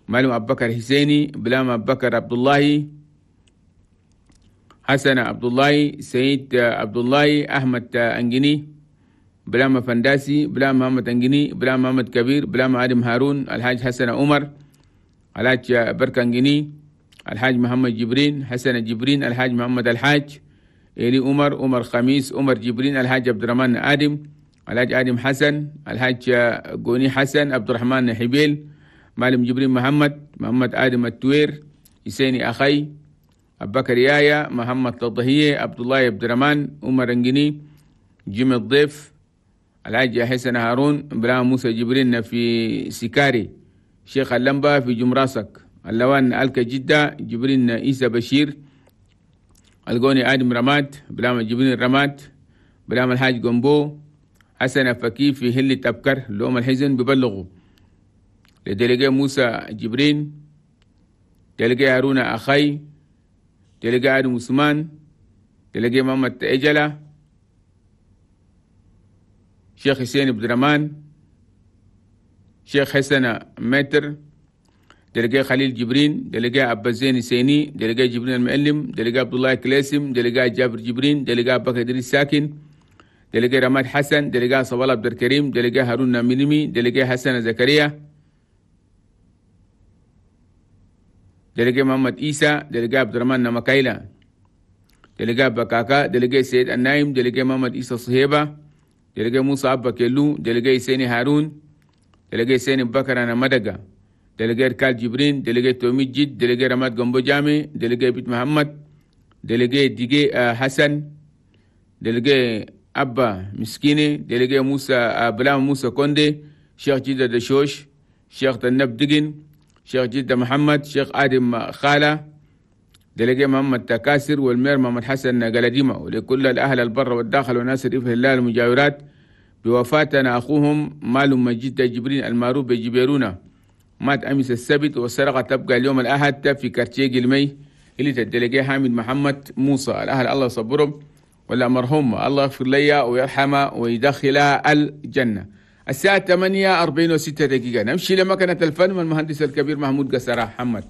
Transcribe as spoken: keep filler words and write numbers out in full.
معلم أبو بكر حسيني، بلام أبو بكر عبد الله، حسن عبد الله، سيد عبد الله، أحمد أنجني، بلام فنداسي، بلام محمد أنجني، بلام محمد كبير، بلام آدم هارون، الحاج حسن عمر، الحاج بركة أنجني، الحاج محمد جبرين، حسن جبرين، الحاج محمد الحاج، إلي عمر، عمر خميس، عمر جبرين، الحاج عبد الرحمن آدم، الحاج آدم حسن، الحاج قوني حسن، عبد الرحمن حبيل، معلم جبرين محمد، محمد آدم التوير، حسيني أخي، أبو بكر يايا، محمد تضهية، عبد الله عبد الرحمن، عمر أنجني، جيم الضيف، الحاج حسن هارون، إبراهيم موسى جبرين في سكاري، شيخ اللمبة في جمراسك، اللوان ألك جدة، جبرين عيسى بشير، القوني آدم رماد، بلام جبرين رماد، بلام الحاج جنبو، حسن فكي في هلة أبكر، لوم الحزن ببلغوا لدلقي موسى جبرين، دلقي هارون أخي، دلقي آدم عثمان، دلقي محمد إجلة، شيخ حسين عبد الرحمن، شيخ حسن متر، دلقي خليل جبرين، دلقي أبا زين سيني، دلقي جبرين المعلم، دلقي عبد الله كلاسم، دلقي جابر جبرين، دلقي أبو بكر إدريس ساكن، دلقي رماد حسن، دلقي صوال عبد الكريم، دلقي هارون مينمي، دلقي حسن زكريا، دلقي محمد إيسى، دلقي عبد الرحمن نمكايلا، دلقي بكاكا، دلقي سيد النايم، دلقي محمد إيسى صهيبة، دلقي موسى أبا كيلو، دلقي سيني هارون، دلقي سيني بكر أنا مدقة، دلقي ركال جبرين، دلقي تومي جد، دلقي رماد جنبو جامي، دلقي بيت محمد، دلقي ديجي حسن، دلقي أبا مسكيني، دلقي موسى بلام موسى كوندي، شيخ جدة دشوش، شيخ تنب دقن، شيخ جدة محمد، شيخ آدم خالة، دلقي محمد تكاسر، والمير محمد حسن قلديمة، ولكل الأهل البر والداخل وناس ريف هلال المجاورات بوفاتنا أخوهم مالهم مجد جبرين المعروف بجبيرونا، مات أمس السبت والسرقة تبقى اليوم الأحد في كارتيه المي اللي تدلقي حامد محمد موسى. الأهل الله يصبرهم، ولا مرحوم الله يغفر لي ويرحمه ويدخلها الجنة. الساعة ثمانية أربعين وستة دقيقة نمشي لمكنة الفن والمهندس الكبير محمود قسرة محمد.